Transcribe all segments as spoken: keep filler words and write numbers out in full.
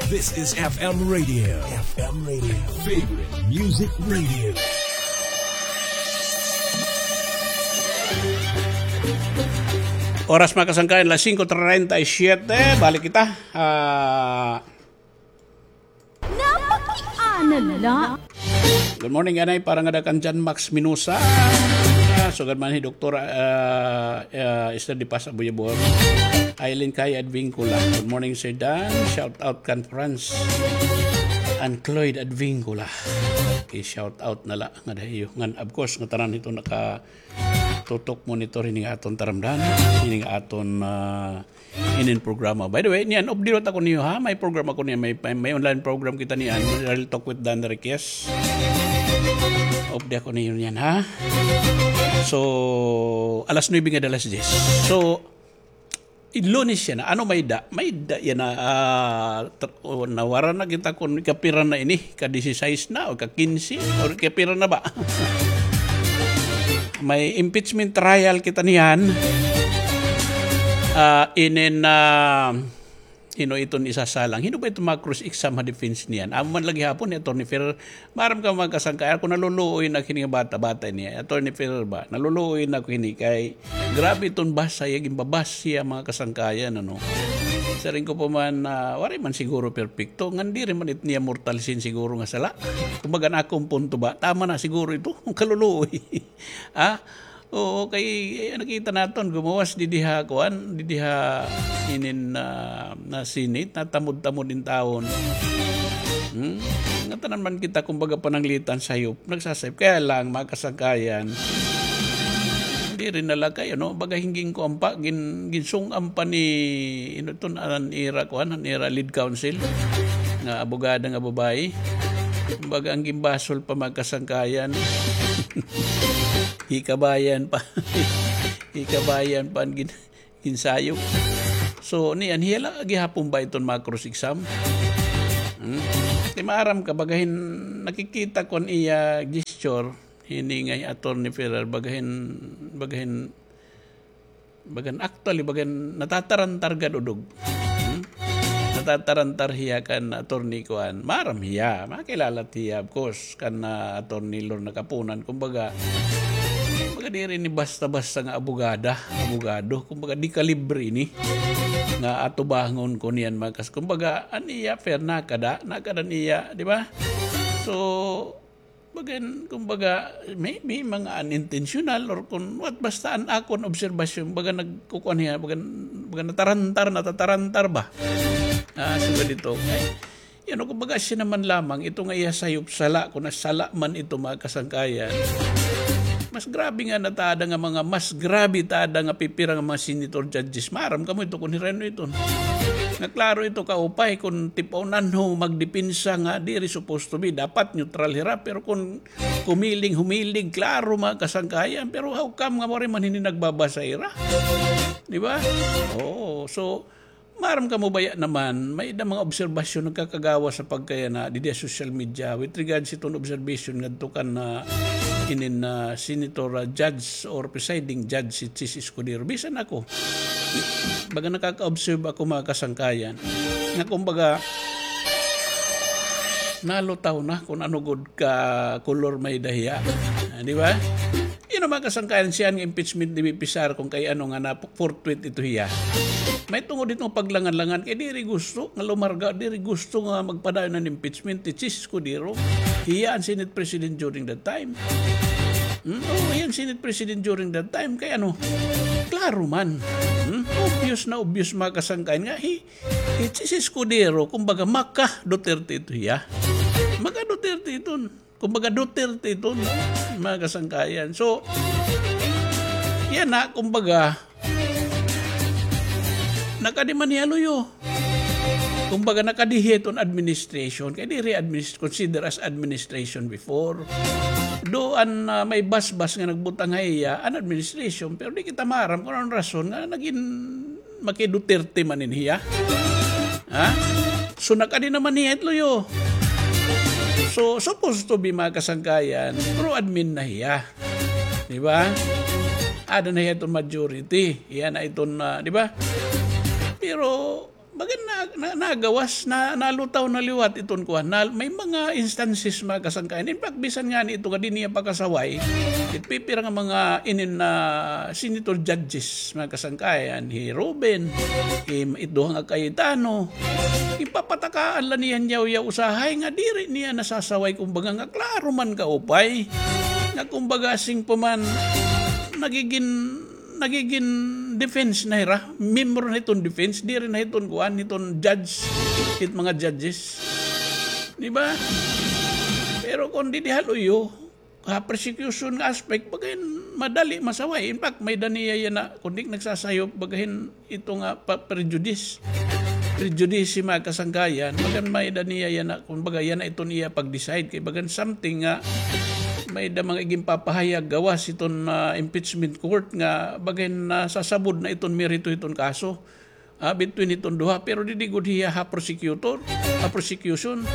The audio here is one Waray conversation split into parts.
This is F M Radio. F M Radio. Favorite Music Radio. Oras, mga kasangkayan, las singko treinta y siete. Balik kita. Ah, Napakiana la. Good morning, anay, para ngada kan John Max Minosa. Ah, sugad man hi Doktor, ah, ah, Esther de Paz Abuyabor. Aileen Kai Advincula. Good morning, Sir Dan. Shout out kan France. And Cloyd Advincula. Okay, shout out na la ngada ha iyo. Ngan, of course, ngatanan ito nakatutok monitor hini nga aton taramdan. Hini nga aton, ah, inin programa. By the way, niyan, update ako niyo, ha? May program ako niyan, may, may, may online program kita niyan, Real Talk with Dan Enriquez. Update ako niyo niyan, ha? So, alas nuebe ngada alas diyes. So, Lunes yana, ano may da? May da yana, ah, tr-, o, nawara na kita kun kapira na ini, ka-disisais na, o ka-kinse, o kapira na ba? May impeachment trial kita niyan. Ah, inin, ah, hin-o iton isasalang? Hin-o ba iton mga cross exam ha defense niyan? Amo man la gihapon ni Attorney Ferrer. Maaram ka, mga kasangkayan, kun naluluoy na ak hini nga bata-bata ini, Attorney Ferrer ba? Naluluoy na ak hini kay grabe iton basa hiya, ginbabas hiya, mga kasangkayan, ano. Siring ko pa man, ah, waray man siguro perpekto, ngan diri man it niya mortal sin siguro nga sala. Kumbaga, an akon punto ba, tama na siguro ito, kaluluoy. Ah, oo, kay, eh, nakita naton, gumawas didi ha, kuan, didi ha, inin, ah, na Senate, natamod-tamod in taon. Hmm? Ngatanan man kita, kumbaga, pananglitan sayop, nagsasayop. Kaya lang, mga kasangkayan, diri na la kay, ano, baga hin gin-, kuan pa, gin-, ginsung-an pa ni, ano iton, an ira, kuan, an ira lead counsel, nga abogada nga babayi. Kumbaga, an ginbasol pa, mga kasangkayan. Hikabayan pa. Hikabayan pa an gin-, ginsayop. So, niyan, hiya la gihapon ba iton mga cross exam? Hmm? Kay maaram ka, baga hin nakikita ko an iya gesture, hini nga hi Attorney Ferrer, baga hin, baga hin, baga hin actually, baga hin natatarantar gad udog. Hmm? Natatarantar hiya kan attorney kuan. Maaram hiya, makilala hiya, of course, kan, ah, Attorney Lorna Kapunan. Kumbaga, kumbaga, diri ini basta-basta nga abogada, abogado. Kumbaga, di kalibre ini nga atubangon ko niyan, mga kas-, kumbaga, an iya, fair, nakada, nakada niya, di ba? So, bagan, kumbaga, maybe mga unintentional or kun what, basta an akon obserbasyon, baga nagkukuan hiya, baga, baga natarantar, natatarantar ba? Ah, sugad ito. Ay, yan, kumbaga, siya naman lamang, ito nga iya sayop sala, kun nasala man ito, mga kasangkayan. Mas grabe nga na tada nga mga, mas grabe tada nga pipira nga mga senator, judges. Maaram kamo ito kun hira-, ano ito. Nga klaro ito, kaupay, kun tip-on anho magdepensa nga diri supposed to be. Dapat neutral hira, pero kun kumiling, humiling, klaro, mga kasangkayan. Pero how come nga waray man hini nagbabasa hira? Di ba? Oo. So, maaram kamo baya naman, may-ada mga obserbasyon nagkakagawas ha pagkayana didi ha social media with regards hiton observation ngadto kan, ah, inin, ah, senator, ah, judge or presiding judge, si Chiz Escudero. Bisan ako, baga nakaka-observe ako, mga kasangkayan, nga kumbaga, nalutaw na kun ano gud ka kolor may-ada hiya. Ah, di ba? Yun an, mga kasangkayan, siya nga impeachment ni V P Sara, kun kay ano nga na-fortuit ito hiya. May tungod ito nga paglangan-langan, kay diri gusto nga lumarga, diri gusto nga magpadayon an impeachment hi Chiz Escudero. Hiya an Senate President during that time. Hmm? Oo, hiya an Senate President during that time. Kay ano, klaro man. Hmm? Obvious na obvious, mga kasangkayan, nga hi, hi Chiz Escudero, kumbaga, maka-Duterte ito hiya. Maka-Duterte ito. Kumbaga, Duterte iton, mga kasangkayan. So, yana, kumbaga, nakadi man hiya luyo. Kumbaga, nakadi hiya iton administration. Kay diri adminis-, consider as administration before. Do an, ah, may basbas nga nagbutang ha iya, an administration. Pero di kita maaram kun ano an rason nga nagin maki-Duterte man ini hiya. Ha? So, nakadi naman hiya it luyo. So, supposed to be, mga kasangkayan, pro-admin na hiya. Di ba? Ada na hiya iton majority. Hiya na iton, ah, di ba? Pero, Bagan na, na, nagawas, na, nalutaw na liwat iton kuan. Na, may mga instances, mga kasangkayan. In fact, bisan ngani ito nga di niya pakasaway, it pipira nga mga inin na senator judges, mga kasangkayan, hi Ruben, hi, it duha nga Cayetano, ipapatakaan la niya yaw-yaw usahay nga diri niya nasasaway, kumbaga nga klaro man kaupay. Nga kumbaga sing pa man, nagigin nagigin defense na hira, membro na hiton defense, diri na hiton kuan, hiton judge, hit mga judges. Di ba? Pero kon didi ha luyo, ha prosecution nga aspect, bagan madali masaway. In fact, may-ada niya yana, kon di nagsasayop, bagan ito nga pa-, prejudice. Prejudice, mga kasangkayan, bagan may-ada niya yana, kumbaga yana iton iya pag-decide. Kay bagan something nga may-ada mga iginpapahayag gawas iton, ah, impeachment court nga bagan nasasabod na iton merito iton kaso, ah, between iton duha. Pero didi gud hiya ha prosecutor, ha prosecution.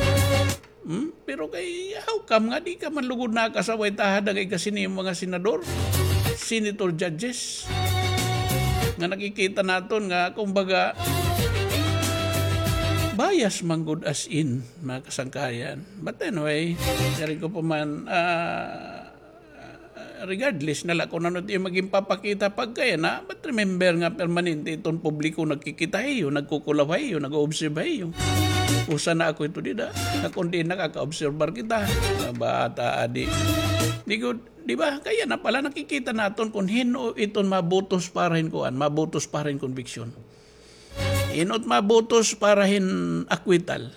Hmm? Pero kay, how come nga di ka man lugod nakasaway tahada kay kasi ni mga senador, senator, judges, nga nakikita naton nga, kumbaga, bias man gud as in, mga kasangkayan. But anyway, diri ko pa man, ah, regardless na la kon ano it iyo magin papakita pagkayana, but remember nga permanente iton publiko nagkikita ha iyo, nagkukulaw ha iyo, nag-o-observe ha iyo. Usa na ako ito dida, nga kon diin nakaka-obserbar kita, mga bata adi. Di gud, di ba? Kay yana pala nakikita naton kon hin-o iton mabotos para hin kuan, mabotos para hin conviction. Hin-o it mabotos para hin acquittal.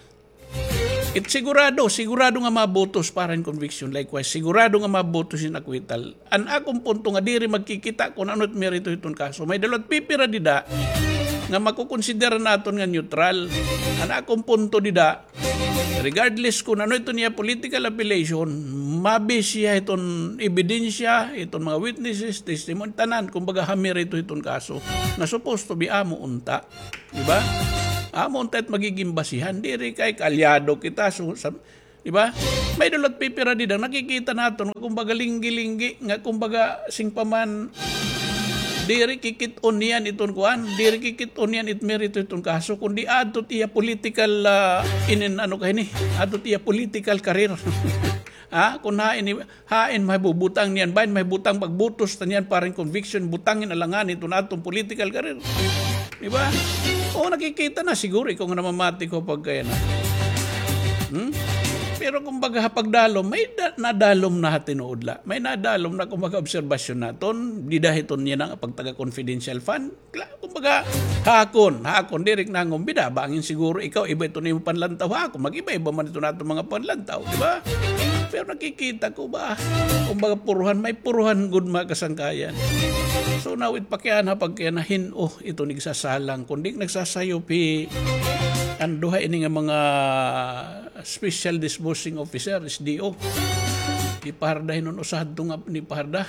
It sigurado, sigurado nga mabotos para hin conviction. Likewise, sigurado nga mabotos hin acquittal. An akon punto nga diri magkikita kon ano it merito hiton kaso. May-ada la it pipira dida nga makukonsidera naton nga neutral. An akon punto dida, regardless kon ano iton iya political affiliation, ma-base hiya hiton ebidensya, hiton mga witnesses, testimony, tanan, kumbaga ha merito hiton kaso. Nga supposed to be amo unta. Di ba? Amo unta it magigin basihan, diri kay kaalyado kita, so, sa, di ba? May-ada la it pipira dida nga nakikita naton nga kumbaga linggi-linggi, nga kumbaga sing pa man, diri kikit-on niyan iton kuan, diri kikit-on niyan it merito iton kaso, kundi adto it iya political, ah, inin ano kay ni, adto it iya political career. Ha? Kon hain, hain mahibutang niyan, bahin mahibutang pagbotos ta niyan para hin conviction, butangin, alangan iton aton political career. Di ba? O, nakikita na siguro ikaw nga namamati ko pagkayana. Hmm? Pero kumbaga ha pagdalom, may da-, nadalom na ha tinuod la. May nadalom na kumbaga obserbasyon naton, dida hiton yana nga pagtaga confidential fund. Kla-, kumbaga, ha akon, ha akon, diri na nga bida, bangin siguro ikaw, iba iton imo panlantaw, ha akon, mag-iba-iba man iton aton mga panlantaw, di ba? Pero nakikita ko ba, kumbaga, puruhan, may puruhan gud, mga kasangkayan. So, now, it pakiana, pagkayana hin-o iton igsasalang, kundi nagsasayop hi, an duha ini nga mga Special Disbursing Officer, S D O. Ni Parda, hinuon usa hadto nga ni Parda.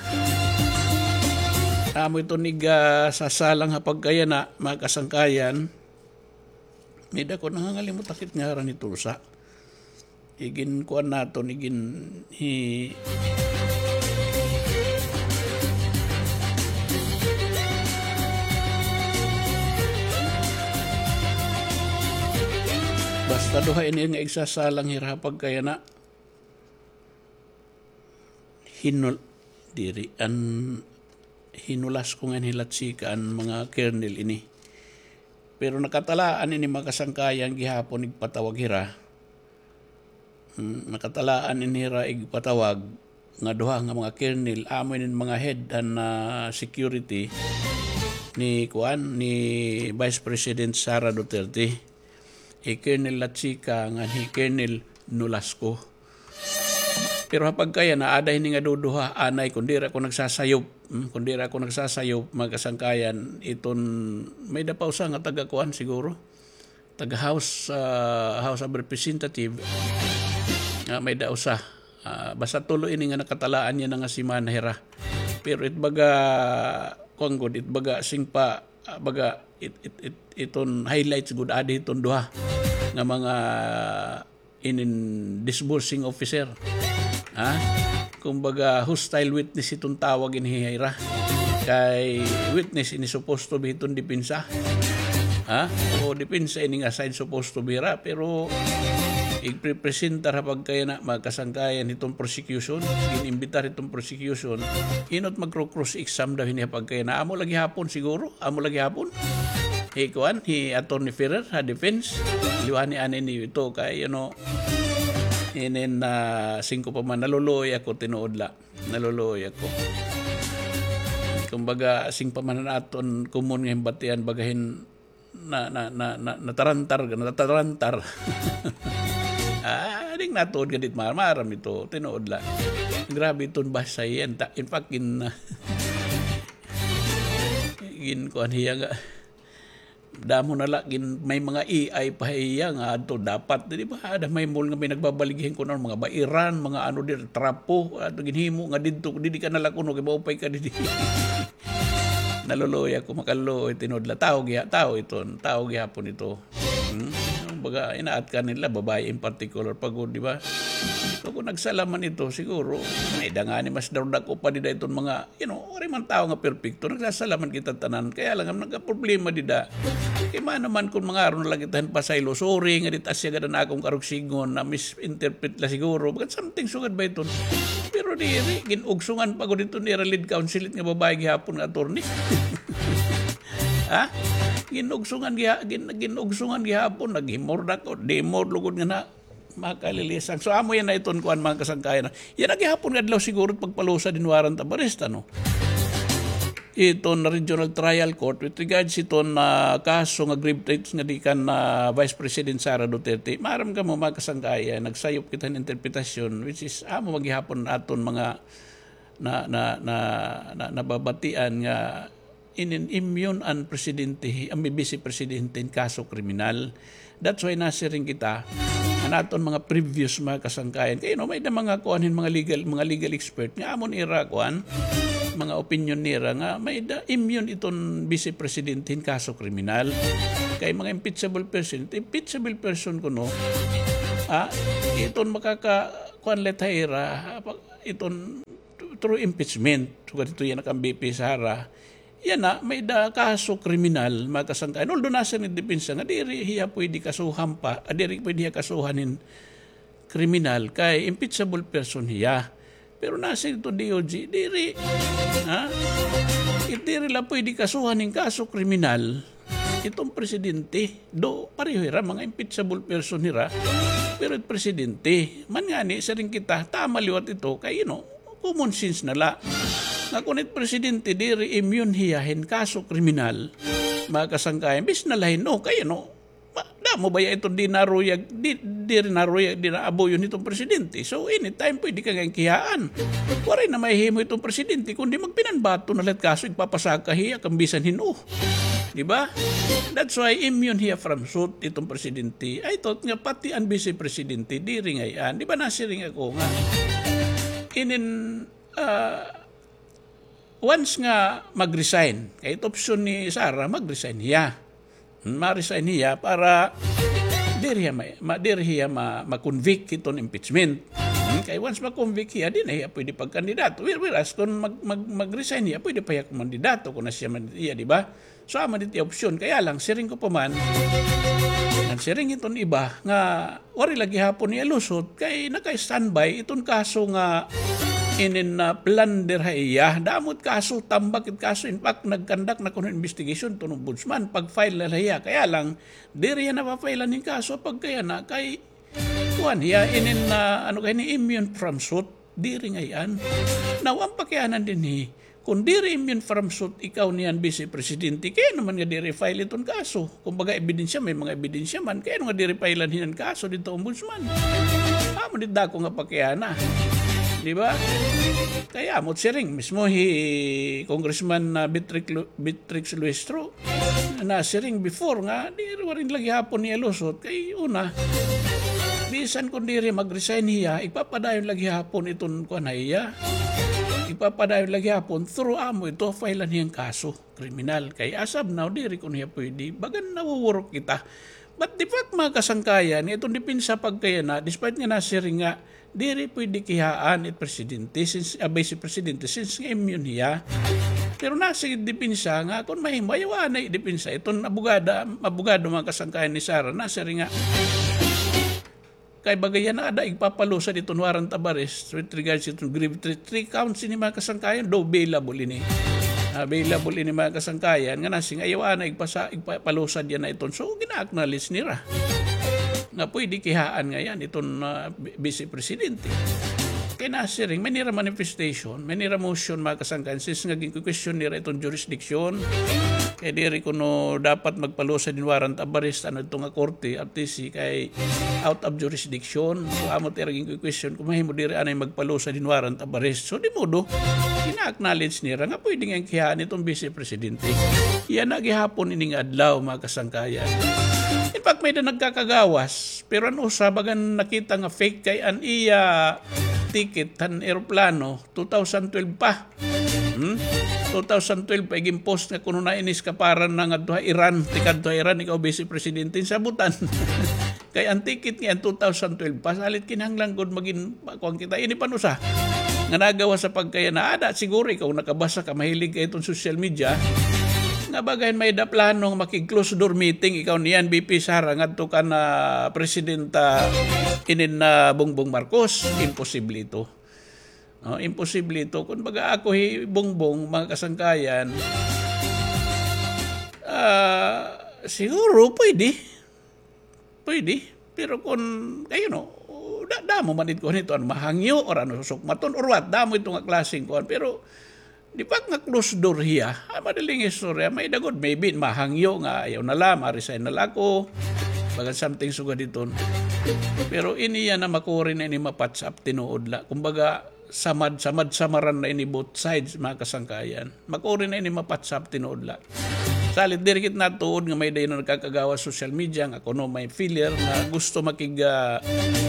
Amo ito nig, ah, sasalang ha pagkayana, mga kasangkayan. May dako, nangangalimot ak it ngaran nito usa. Igin kuan naton, igin hi-, basta duha ini nga igsasalang hira ha pagkayana. Hinul-, diri, an hinulas ko nga hilatsika an mga kernel ini. Pero nakatalaan ini mga kasangkayan gihapon igpatawag hira. Hmm, nakatalaan ini hira igpatawag nga duha nga mga kernel, amo ini mga head han, ah, security ni kuan, ni Vice President Sara Duterte. Hi Colonel Lachica ngan hi Colonel Nolasco. Pero ha pagkayana, aada hini nga duduha, anay, kon diri ako nagsasayop, hmm, kon diri ako nagsasayop, mga kasangkayan, iton, may-ada pa usa nga taga-kuan siguro. Taga-House, ah, House of Representative, nga may-ada usa. Ah, basta tulo ini nga nakatalaan niya na nga semana hira. Pero it baga, kuan gud, it baga singpa, ah, baga, it, it, it, iton highlights gud adi iton duha nga mga inin disbursing officer. Ha? Kumbaga, hostile witness iton tawag ini hira. Kay witness ini supposed to be iton depensa. Ha? O, depensa ini nga side supposed to be hira, pero igprepresentar ha pagkayana, mga kasangkayan, hiton prosecution, gin-imbitar hiton prosecution, inot magkro-cross exam daw hini ha pagkayana. Amo la gihapon siguro, amo la gihapon. Hi kuan, hi Attorney Ferrer ha defense, liwani ani ni ito kay, you know, inin na singko pa man, naluluoy ako tinuod la. Naluluoy ako. Kumbaga, sing pa man an aton common nga himbatian, baga hin na, na, na, na, natarantar, natarantar. Ah, ding natuod ka dit mar-, maram ito, tinuod la. Grabe iton basa yan. Ta-, in fact, gin, gin kuan hiya nga. Damo na la, gin, may mga A I pa hiya nga adto dapat, di ba? Ada may mall nga may nagbabaligya hin kun ano, mga bairan, mga ano dir, trapo, ato ginhimo nga didto, didi ka na la kuno, kay maupay ka didi. Naluluoy ako, makaluluoy, tinuod la. Tawo giha-, tawo iton, tawo gihapon ito. Hmm? Baga, inaat ka nila, babae in particular, pagod, di ba? So, kung nagsala man ito, siguro, may da ngani mas darudako pa dida iton mga, you know, waray man tawo nga perpekto, nagsasala man kita tanan. Kaya lang, ang nagkaproblema dida, kay mano man kung mangaron na la kita hin pasaylo, sorry, nga di ta siya gad an akon karuyag sidngon, na-misinterpret la siguro. Baga something sugad ba iton? Pero diri, gin-ugsungan pa gud iton ira lead counsel it nga babae gihapon nga attorney. Ha? Gin-ugsungan giha-, gin-, gin-ugsungan gihapon, naghimordak o demor lugod nga na, makalilisang. So, amo yana iton kuan, mga kasangkayan. Yana gihapon nga adlaw siguro pagpalusad hin warrant of arrest, ano? Iton Regional Trial Court with regards iton, ah, kaso nga grave threats nga di kan, ah, Vice President Sara Duterte. Maaram kamo, mga kasangkayan, nagsayop kita hin interpretasyon, which is, amo man gihapon aton mga na, na, na, na, nababatian nga inin immune an presidente, an bise presidente hin kaso kriminal. That's why nasiring kita, an aton mga previous mga kasangkayan. Kay, no, may da mga kuan hin mga legal, mga legal expert nga amon ira kuan, mga opinion nira nga may da immune iton bise presidente hin kaso kriminal. Kay mga impeachable person, impeachable person kuno, ah, iton makaka-, kuan la ha ira, ah, pag-, iton through impeachment. Sugad hito yana kan V P Sara. Yana, may da kaso kriminal, mga kasangkayan. Although nasiring it depensa nga diri hiya pwede kasuhan pa, ah, diri pwede hiya kasuhan hin kriminal kay impeachable person hiya. Pero nasiring iton D O J, diri. Ha? It diri la pwede kasuhan hin kaso kriminal iton presidente. Do, pareho hira, mga impeachable person hira. Pero it presidente, man ngani, siring kita, tama liwat ito, kay, you know, common sense na la. Nga kun it presidente, diri immune hiya hin kaso kriminal, mga kasangkayan, bis na la hin, no, kay, you know, ma-, damo baya iton di naruyag, di, diri naruyag, di naabuyon hiton presidente. So, anytime pwede ka nga kiyaan. Waray na mahihimo iton presidente, kundi magpinanbaton na la it kaso, igpapasaka hiya, kan bisan hin-o. Di ba? That's why immune hiya from suit iton presidente. I thought nga pati an bise presidente, diri ngay-an. Di ba nasiring ako nga, inin, ah, once nga mag-resign, kay it option ni Sara, mag-resign hiya. Hmm, ma-resign hiya para diri hiya ma-, ma-, diri hiya ma-, ma-convict hiton impeachment. Hmm, kay once ma-convict hiya, di na hiya pwede pagkandidato. Where-, whereas, kung mag-, mag-, mag-resign hiya, pwede pa hiya kumandidato kung na siya man hiya, di ba? So, amo didi opsyon. Kaya lang, siring ko pa man, nagsiring iton iba nga waray la gihapon hiya lusot, kay naka-standby iton kaso nga inin, ah, plunder ha iya. Damo it kaso, tambak it kaso. In fact, nag-conduct na kuno investigation iton ombudsman, pag-file na la hiya. Kaya lang, diri hiya napapaila hin kaso pagkayana, kay kuan hiya, inin, ah, ano kay ni, immune from suit. Diri ngay-an. Now, an pakiana dinhi, kun diri immune from suit ikaw niyan bise presidente, kay ano man nga diri file iton kaso? Kumbaga, ebidensya, may mga ebidensya man, kay ano nga diri file-an hiya hin kaso didto ombudsman? Amo dida ako nga pakiana. Di ba? Kay amo it siring mismo hi Congressman, ah, Beatrix Lu-, Beatrix Luistro, nasiring before nga, diri, waray la gihapon hiya lusot. Kay una, bisan kun diri mag-resign hiya, igpapadayon la gihapon iton kuan ha iya. Igpapadayon la gihapon, through amo ito, file-an hiya hin kaso kriminal. Kay as of now, diri kuno hiya pwede. Bagan nawuwurok kita. But the fact, mga kasangkayan, nga iton depensa pagkayana, despite nga nasiring nga, diri pwede kiyaan it presidente, since, ah, vice presidente, since nga immune hiya. Pero nasiring depensa nga kon mahimo, ayaw anay depensa iton abogada, abogado, mga kasangkayan, ni Sara, nasiring nga kay baga yana ada igpapalusad iton warrant of arrest with regards iton grave threat. Three counts ini, mga kasangkayan, do bailable ini. Ah, bailable ini, mga kasangkayan, nga nasiring ayaw anay igpasa-, igpapalusad yana iton. So, gina-acknowledge nira nga pwede kihaan ngay-an iton, ah, bi-, Vice Presidente. Kay nasiring, may nira manifestation, may nira motion, mga kasangkayan, since nga gin-question nira iton jurisdiction. Kay diri kuno dapat magpalusad hin warrant of arrest, ano, ito nga korte, R T C, kay out of jurisdiction. So, amo it ira gin-question, kon mahimo diri anay magpalusad hin warrant of arrest. So, di modo, gina-acknowledge nira nga pwede ngay-an kihaan iton Vice Presidente. Yana gihapon ini nga adlaw, mga kasangkayan. In fact, may-ada nagkakagawas. Pero an usa, bagan nakita nga fake kay an iya ticket han eroplano, two thousand twelve pa. Hmm? Two thousand twelve pa, igin-post nga kuno na ini eskaparan na ngadto ha Iran, tikadto ha Iran, ikaw, Vice Presidente, sabutan. Kay an ticket niya, two thousand twelve pa, salit kinahanglan gud magin-, kuan kita. Ini pa an usa nga nagawas sa pagkayana, ada siguro ikaw nakabasa ka, mahilig ka iton social media, nga bagan may-ada plano nga makig-closed door meeting ikaw niyan, V P Sara, ngadto kan Presidenta inin, ah, Bongbong Marcos. Imposible ito. No, imposible ito. Kon baga ako hi Bongbong, mga kasangkayan, ah, siguro pwede. Pwede. Pero kon, kayo, no, da-, damo man it kuan ito, ano, mahangyo, or ano, susukmaton, or what, damo ito nga klaseng kuan. Pero, di ba nga closed door hiya? Ah, madaling istorya, may-ada gud, maybe, mahangyo nga, ayaw na la, ma-resign na la ako. Bagan something sugad iton. Pero ini yana makuri na ini ma-patch up tinuod la. Kumbaga, samad, samad-samaran na ini both sides, mga kasangkayan. Makuri na ini ma-patch up tinuod la. Salit diri kita natuod nga may dayon na nagkakagawas social media nga kuno may filler nga gusto makig, ah,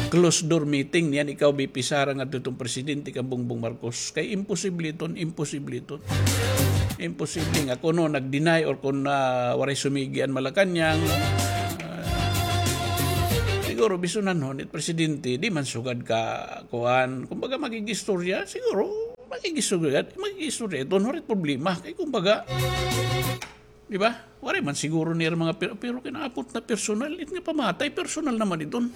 closed door meeting niyan ikaw, V P Sara, ngadto iton presidente kan Bongbong Marcos. Kay imposible iton, imposible iton. Imposible nga kuno nag-deny or kun, ah, waray sumigi an Malacañang. Ah, siguro bisunanhon it presidente, di man sugad ka kuan, kumbaga, makig-istorya, siguro, makig-istorya, makig-istorya iton, waray problema. Kay, kumbaga, di ba? Waray man siguro nira mga per-, pero kinaabot na personal, it nga pamatay, personal naman iton.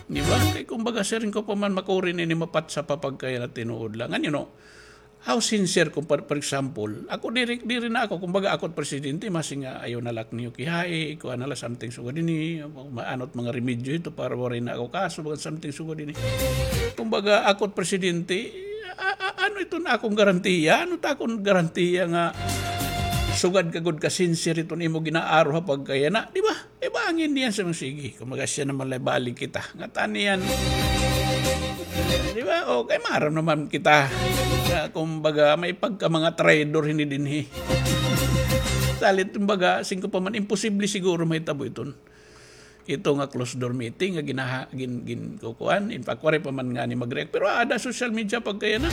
Di ba? Kay, kumbaga, siring ko pa man, makuri na ini ma-patch up pa pagkayana tinuod la. Ngan, you know, how sincere kung, for, for example, ako diri, diri na ako, kumbaga, ako it presidente, masiring nga ayaw na la ak niyo kihai, kuan na la, something sugad ini, ano it mga remedyo ito para waray na ako kaso, bagan something sugad ini. Kumbaga, ako it presidente, a-, a-, ano iton akon garantiya? Ano it akon garantiya nga sugad ka gud ka sincere iton imo ginaaro ha pagkayana, di ba? Kay bangin niyan sa mga sige, kumbaga siya naman la, ibalik kita. Ngatanan niyan, di ba? O, kay maaram naman kita. Nga, kumbaga, may pagka mga traidor hini dinhi. Salit, kumbaga, siring ko pa man, imposible siguro mahitabo iton. Ito nga closed door meeting nga ginaha-, gin-, gin-, kukuan. In fact, waray pa man ngani mag-react. Pero ada social media pagkayana.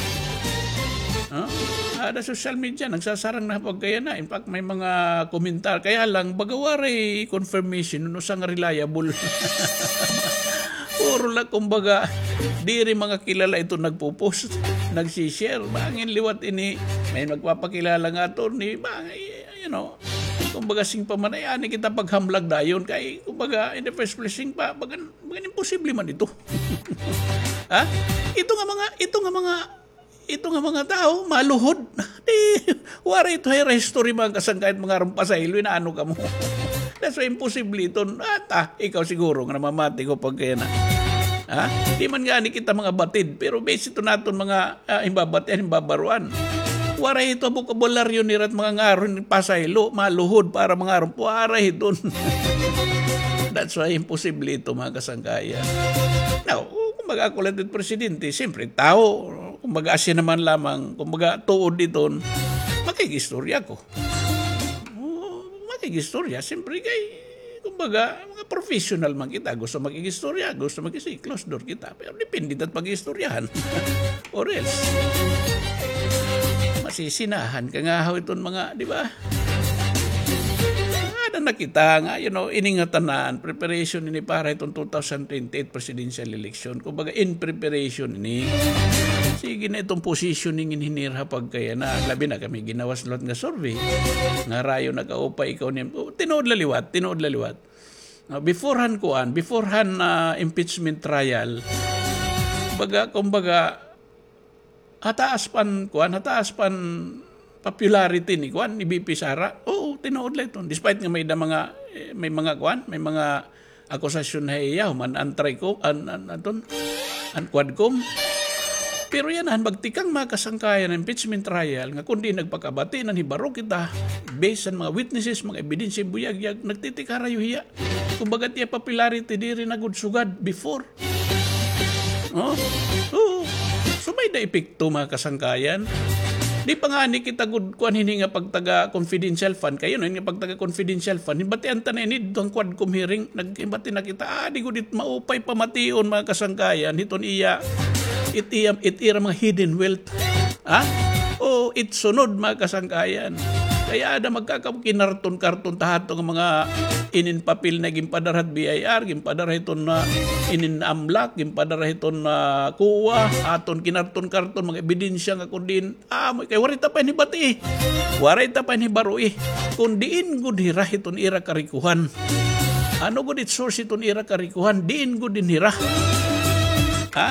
Ha? Ada social media, nagsasarang na pagkayana. In fact, may mga komentar. Kaya lang, baga waray confirmation, usa nga reliable. Puro la, kumbaga, diri mga kilala ito nagpo-post, nagsi-share. Bangin liwat ini, may nagpapakilala nga attorney, bangin, you know, kumbaga, siring pa man, ay, ani kita paghamlag dayon. Kay, kumbaga, in the first place, siring pa, bagan, bagan imposible man ito. Ha? Ito nga mga, ito nga mga, ito nga mga tawo, maluhod. Di, waray ito hira history, mga kasangkayan, mga aron pasaylo, inaano kamo. That's why imposible ito. At, ah, ikaw siguro nga namamati ko pagkayana. Ha? Di man ngani kita mga batid, pero base ito naton mga, ah, himbabatian, himbabaroan. Waray ito bokabularyo nira it mga ngaron pasaylo, maluhod para mga aron, waray iton. That's why imposible ito, mga kasangkayan. Now, kumbaga ako la it presidente, siyempre, tawo, kumbaga asya naman lamang, kumbaga tuod iton, makig-istorya ko. O, makig-istorya, siyempre kay, kumbaga, mga professional man kita, gusto makig-istorya, gusto makig-, closed door kita. Pero depende it pag-istoryahan. Or else, masisinahan ka nga haw iton mga, di ba? na kita nga, you know, ini nga tanan, preparation ini para hiton two thousand twenty-eight presidential election. Kumbaga, in preparation ini. Sige na iton positioning in hinirha pagkaya na. Labi na kami ginawas liwat nga survey. Nga rayo nakaupay ikaw ni, oh, tinuod la liwat, tinuod la liwat. Now, before han kuan, before han, ah, impeachment trial, baga, kumbaga, hataas pan, kuan, hataas pan popularity ni, kuan, ni V P Sara. Oo, tinuod la iton. Despite nga may da mga, eh, may mga, kuan, may mga akusasyon ha iya, human an TRICOM, an, an, aton, an Quadcom. Pero yana han magtikang mga kasangkayan han impeachment trial, nga kundi nagpakabati na hibaro kita, based han mga witnesses, mga ebidensya, buyagyag, nagtitikarayo hiya. Kumbaga, tiya popularity diri na gud sugad before. Oh? Oo. So, may da epekto, mga kasangkayan. Di pa ngani kita gud kuan hini nga pagtaga confidential fund. Kayo, no, nga pagtaga confidential fund. Hibatian ta na ini, didto han Quadcom hearing. Naghibati na kita, ah, di gud it maupay pamation, mga kasangkayan. Hiton iya, it iya, it ira mga hidden wealth. Ha? O, it sunod, mga kasangkayan. Kaya ada magkakakinarton-karton ta hadto nga mga inin papel na ginpadara ha B I R, ginpadara hiton na inin AMLAC, ginpadara hiton na COA, aton kinarton-karton, mga ebidensya nga kun diin, ah, mo, kay waray ta pa ini bati, eh. Waray ta pa ini baro, eh. Kun diin gud hira hiton ira karikuhan. Ano gud it source hiton ira karikuhan? Diin gud in hira? Ha?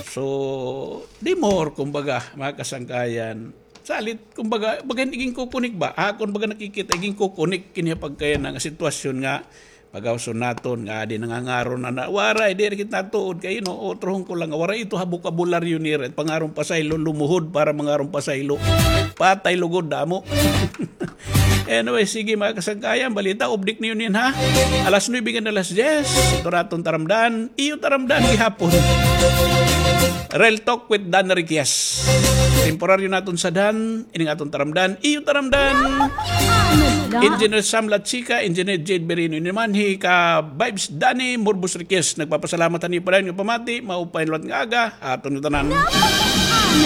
So, di more, kumbaga, mga kasangkayan. Salit, kumbaga, baga iginkukunik ba? Akon baga nakikita, iginkukunik kini pagkaya nga sitwasyon nga pagawson naton nga adi nangangaro na na, waray, di kita tuod kay, no, otrohon ko lang, waray ito ha bokabularyo nira, pangaron pasaylo, lumuhod para mangaron pasaylo. Patay lugod, damo. Anyway, sige, mga kasangkayan, balita, update niyo nin, ha? Alas nuebe hanggang alas diyes, ito na aton taramdan, iyo taramdan gihapon. Real Talk with Dan Riquez. Temporaryo naton sadhan, ining aton taramdan, iyo taramdan. Engineer Sam Lachica, Engineer Jade Berino, ini naman hi ka Vibes Danny Murbos Riquez. Nagpapasalamat han iyo padayon nga pamati, maupay liwat nga aga, aton ngatanan.